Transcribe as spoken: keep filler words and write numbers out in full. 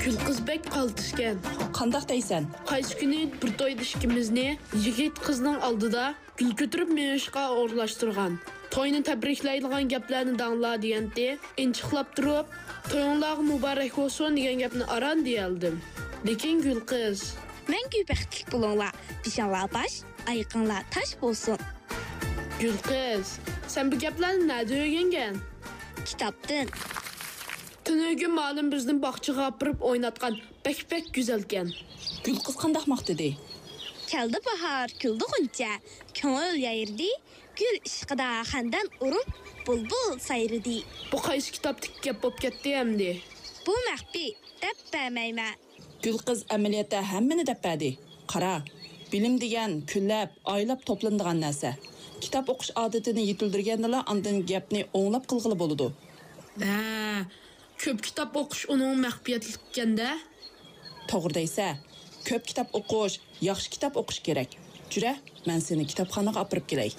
گۈل قىز بەك قالتىسكەن. قانداق دەيسەن؟ قايسى كۈنى بىر تويدا ئىككىمىزنى يىگىت قىزنىڭ ئالدىدا گۈل كۆتۈرۈپ مېڭىشقا ئورۇنلاشتۇرغان. توينى تەبرىكلەيدىغان گەپلەرنى دەڭلار دېگەنتى. ئىنچىقلاپ تۇرۇپ، تويۇڭلارغا مۇبارەك بولسۇن دېگەن گەپنى ئاران دېيەلدىم. لېكىن گۈل قىز. مەڭگۈ بەختلىك بولۇڭلار. بېشىڭلار باش، ئايىقىڭلار تاش بولسۇن. گۈل قىز، سەن بۇ گەپلەرنى نەدە ئۆگەنگەن؟ كىتابتىن. تۈنۈگۈن مۇئەللىم بىزنى باغچىغا ئاپىرىپ ئويناتقان. بەك بەك گۈزەلكەن. گۈل قىز قانداق ماختىدى؟ كەلدى باھار، كۈلدى غۇنچە، كۆڭۈل يايرىدى، گۈل ئىشقىدا خەندان ئۇرۇپ، بۇلبۇل سايرىدى. بۇ قايسى كىتابتىكى گەپ بولۇپ كەتتى ئەمدى؟ بۇ مەخپىي، دەپ بەرمەيمەن. گۈل قىز ئەمەلىيەتتە ھەممىنى دەپ بەردى. قارا، بىلىم دېگەن كۈنلەپ، ئايلاپ توپلىنىدىغان نەرسە. كىتاب ئوقۇش ئادىتىنى يېتىلدۈرگەندىلا ئاندىن گەپنى ئوڭلاپ قىلغىلى بولىدۇ. ھە، كۆپ كىتاب ئوقۇش ئۇنىڭ مەخپىيەتلىككەن-دە. توغرا دەيسە، كۆپ كىتاب ئوقۇش، ياخشى كىتاب ئوقۇش كېرەك. جۈرە، مەن سېنى كىتابخانىغا ئاپىرىپ كېلەي.